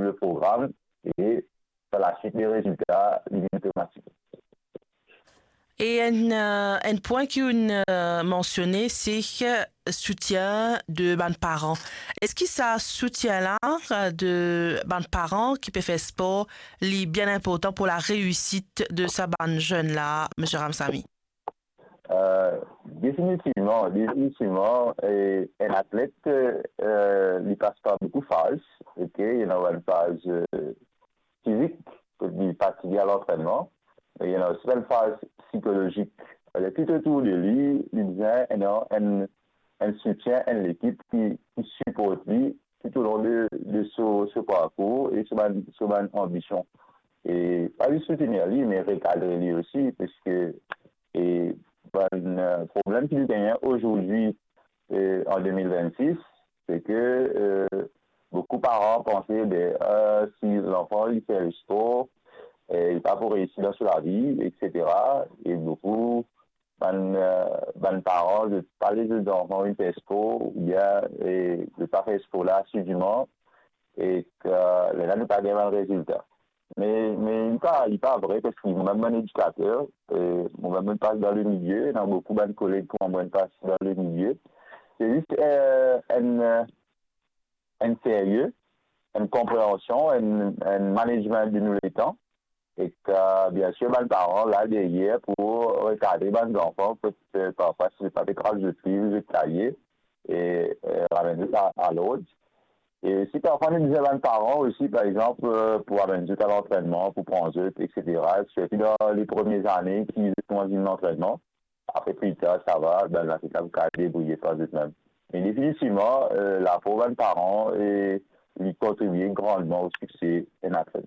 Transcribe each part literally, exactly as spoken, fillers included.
le program e par la suite, le rezilta, li vinn otomatik. E enn, eh, enn pwin ki ou'nn, eh, mansione, se soutien de bann paran. Eski sa soutien la, eh, de bann paran ki pe fer spor, li bien inportan pou la reyisit de sa bann zenn la, Misie Ramsamy? Eh, definitivman, definitivman, eh, enn atlet, eh, li pas par boukou faz, ok? Ena bann faz, eh, fizik, kot li fatige a lantrennman, me ena osi bann faz psikolozik. Alor, tou otour de li, li bizin ena enn, enn soutien, enn lekip ki, ki siport li toulong de, de so, so parkour e so bann, so bann anbision. E pa zis soutenir li, me rekadre li osi, parski, e, bann, eh, problem ki nou gagne azordi, eh, an de mil vennsis, se ke, eh, boukou paran panse, be, eh, si lanfan li fer spor, eh, li pa pou reisi dan so lavi, et cetera. E boukou bann, eh, bann paran, zot pa les zot zanfan vinn fer spor, oubien, eh, zot pa fer spor la asidiman, e ki, eh, lerla nou pa gagn bann rezilta. Me, me li pa, li pa vre, parski mo mem bann edikater, eh, mo mem mo pas dan le milie, ena boukou bann koleg kouma mwa pas dan le milie. Se zis, eh, enn, eh, enn serye, enn konpreansion, enn, enn management de nou letan. E ki, eh, biensir, bann paran la deryer pou rekadre bann zanfan, kot, eh, parfwa, si zot pa pe kraz zot liv, zot kaye, e, eh, ramenn zot a, a lord. E si parfwa nou bizin bann paran osi, par exanp, eh, pou amenn zot a lantrennman, pou pran zot, et cetera, sirtou dan le premie zane ki zot koumans vinn lantrennman, apre pli tar, sava, bann atlet la pou kapav debrouye par zot mem. Me definitivman, eh, lapor bann paran, e li kontribie grandman o sikse enn atlet.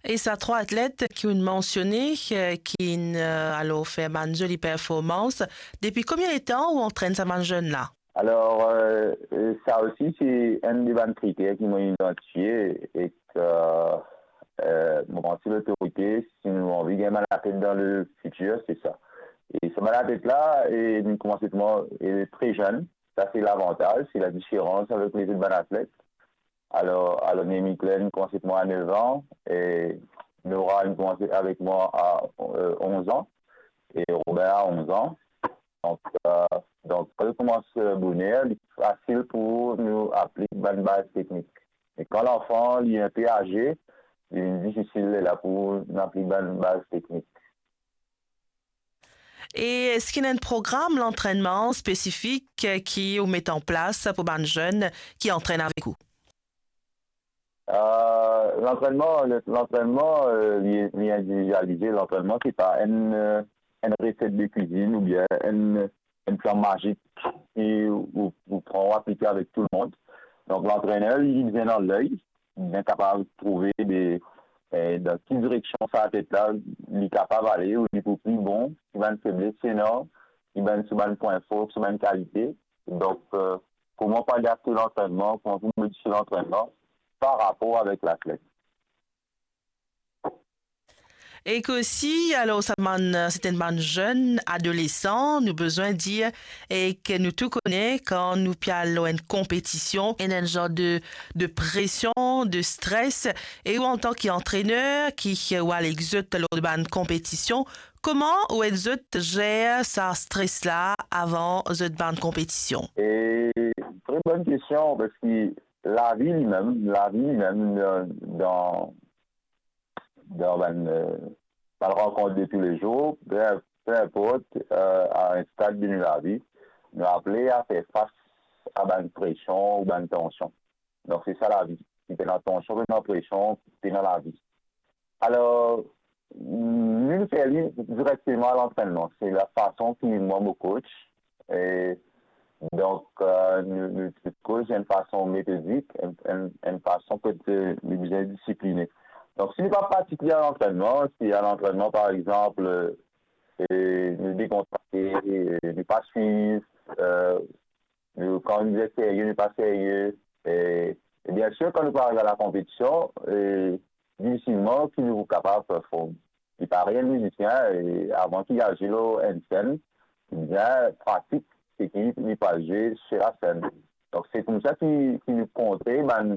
E sa trwa atlet ki ou'nn mansione, eh, ki'nn, eh, alor fer bann zoli performans, depi konbien letan ou antrenn sa bann zenn la? Alor, eh, eh, sa osi se enn de bann kriter ki mo idantifie e ki, eh, mo panse lotorite, si nou anvi gagn bann atlet dan le fitir, se sa. E sa bann atlet la, e, inn koumans avek mwa, e, tre zenn. Sa se lavantaz, se ladiferans avek lezot bann atlet. Alor, alor, Némi Klein koumans avek mwa a nef an, e Nora inn koumans avek mwa a, eh, onz an, e Robin a onz an. Donk, eh, donk, kan nou koumans, eh, boner, li fasil pou nou aplik bann baz teknik. Me kan lanfan, li inpe aze, li vinn difisil lerla pou nou aplik bann baz teknik. E eski ena enn program lantrennman spesifik, eh, ki ou met an plas pou bann zenn ki antrenn avek ou? Eh, lantrennman, le, lantrennman, eh, li, li individialize. Lantrennman, se pa enn, eh, enn reset de kwizinn oubien enn, enn plan mazik ki ou, ou pran, ou aplike avek tou lemond. Donk, lantrener, li bizin ena ley, li bizin kapav trouve de, eh, dan ki direksion sa atlet la, li kapav ale, ou li pou pli bon, ki bann febles li ena, ki bann, ki bann pwin for, ki bann kalite. Donk, eh, kouma pou adapte lantrennman, kouma pou modifie lantrennman par rapor avek latlet. E ki osi, alor, sa bann, serten bann zenn adolesan, nou bizin dir, e ki nou tou kone, kan nou pe al lor enn konpetision, ena enn zar de, de presion, de stres, e ou antan ki antrener, ki ou al ek zot lor de bann konpetision, kouma ou ed zot zer sa stres la avan zot bann konpetision? E, tre bonn kestion, parski lavi limem, lavi limem, dan, dan, dan bann, eh, bann rankont de toulezour, pe, pe inport, eh, a enn stad de nou lavi, nou apele a fer fas a bann presion ou bann tansion. Donk, se sa lavi. Ki pena tansion, pena presion, pena lavi. Alor, nou, nou fer li direkteman a lantrennman. Se lafason ki mwa, mo coach, e donk, eh, nou, nou, nou coach enn fason metodik, enn, enn, enn fason kot, eh, nou bizin disipline. Donk, si nou pa pratik li a lantrennman, si a lantrennman, par exanp, eh, nou dekontrakte, eh, nou pa swiv, eh, nou, kan nou dir serye, nou pa serye. E, e biensir, kan nou pe ariv a la konpetision, e, difisilman ki nou pou kapav perform. Li parey enn mizisien, e, avan ki li al zwe lor enn senn, li bizin pratik seki li pe zwe sir lasenn. Donk, se koumsa ki, ki nou kontre bann,